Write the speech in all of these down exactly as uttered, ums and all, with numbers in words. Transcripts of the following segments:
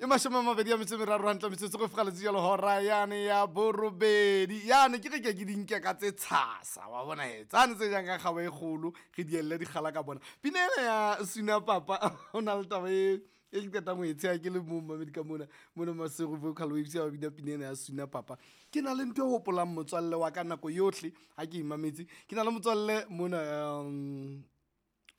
Mashome a mabedi a metso e meraro hantle metsotso go fega jalo hora yane ya borobedi. Yane ke re ke ke di nke ka tse tshasa wa bona he tsane tse jang ka kgabo e kgolo re di elle dikgala ka bona. Pina ena ya Suna Papa o na le taba e e ke qetang ho e tsheha ke le mong mamedi ka mona mona Maseru Vocal Waves ya ba bina pina ena ya Suna Papa. Ke na le ntho e hopolang motswalle wa ka nako yohle ha ke e mametse. Ke na le motswalle mona um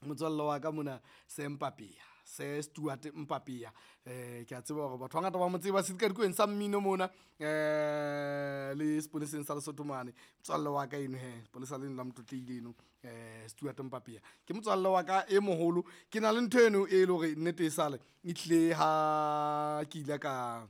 motswalle wa ka mona se Mpapea, se Stuart Mpapea. Eh ke a tseba hore batho ba bangata ba mo tseba sedikadikweng sa mmino mona eh le sepoleseng sa Lesotho mane. Motswalle wa ka eno he, sepolesa leno la Motlotlehile eno eh Stuart Mpapea. Ke motswalle wa ka e moholo. Ke na le ntho eno e le hore nnete e sale e tlile ha ke ile ka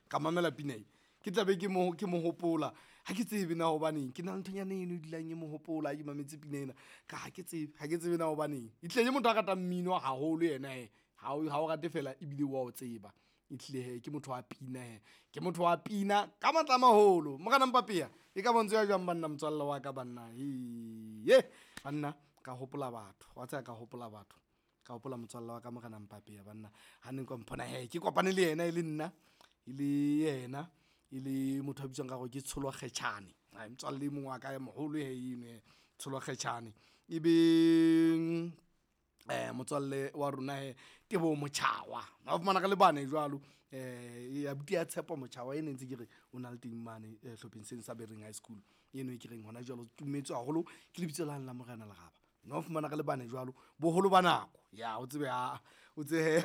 ka mamela pina e. Ke tla be ke mo ke mo hopola. Ha ke tsebe na hobaneng. Ke na le nthonyana eno e dulang e mo hopola ha ke mametse pina ena. Ka ha ke tsebe, ha ke tsebe na hobaneng. E hlile ke motho a ratang mmino haholo yena he. Ha o ha o rate fela ebile wa o tseba. E hlile he ke motho wa pina he. Ke motho wa pina ka matla a maholo. Morena Mpapea e ka bontsho ya jwang banna motswalle wa ka banna. Ye banna ka hopola batho. Wa tseba ka hopola batho. Ka hopola motswalle wa ka Morena Mpapea banna. Ha ne nka mpona he ke kopane le yena e le nna e le yena e le motho a bitswang ka hore ke Tsholo Kgetjhane. Ai motswalle e mong wa ka e moholo he eno he Tsholo Kgetjhane. E be eh motswalle wa rona he Teboho Motjhawa. Wa fumana re le bane jwalo eh abuti ya Tshepo Motjhawa ene ntse ke re o na le teng mane eh, hlopheng seno sa Bereng High School. Eno e ke reng hona jwale o tumetswe haholo ke lebitso lane la Morena Leraba. No fumana re le bane jwalo boholo ba nako. Ya o tsebe ha o tsebe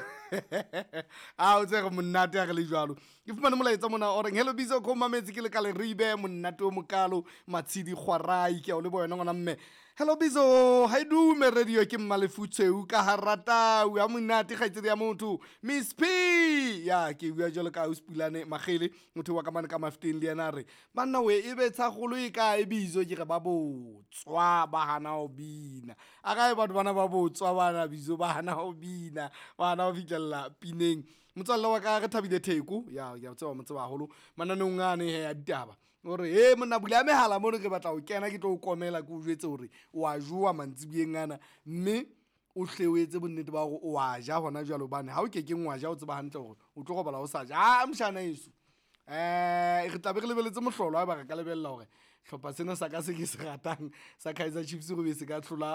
a o tsebe re monate ha re le jwalo. Ke fumane molaetsa mona o reng hello Bizo ko mametse ke le ka Leribe monate o mokalo Matshidi Kgwarai ke a o leboha wena ngwana mme. Hello Bizo ha e dume radio ke Mmalefutshweu ka Haratau ha monate kgaitsedi ya motho Miss P ya ke bua jwalo ka ausi Pulane Makgele motho wa ka mane ka Mafteng le yena a re banna we e be tshakgolo e kae Bizo ke re ba botswa ba hana ho bina. A kae batho bana ba botswa bana Bizo ba hana ho bina ba hana ho fihlella pineng. Motswalle wa ka re Thabile Theko ya ke a tseba mo tseba haholo mananeong ane he a ditaba. O re he monna bula mehala mono ke batla ho kena ke tlo o komela ke o jwetse hore o a jowa mantsiboyeng ana mme o hle o etse bonnete ba hore o a ja hona jwale hobane ha o kekeng wa ja o tseba hantle hore o tlo robala o sa ja. Ah mshana heso. Eh re tla be re lebeletse mohlolo haeba re ka lebella hore hlopha sena sa ka se ke se ratang sa Kaizer Chiefs go be se ka hlola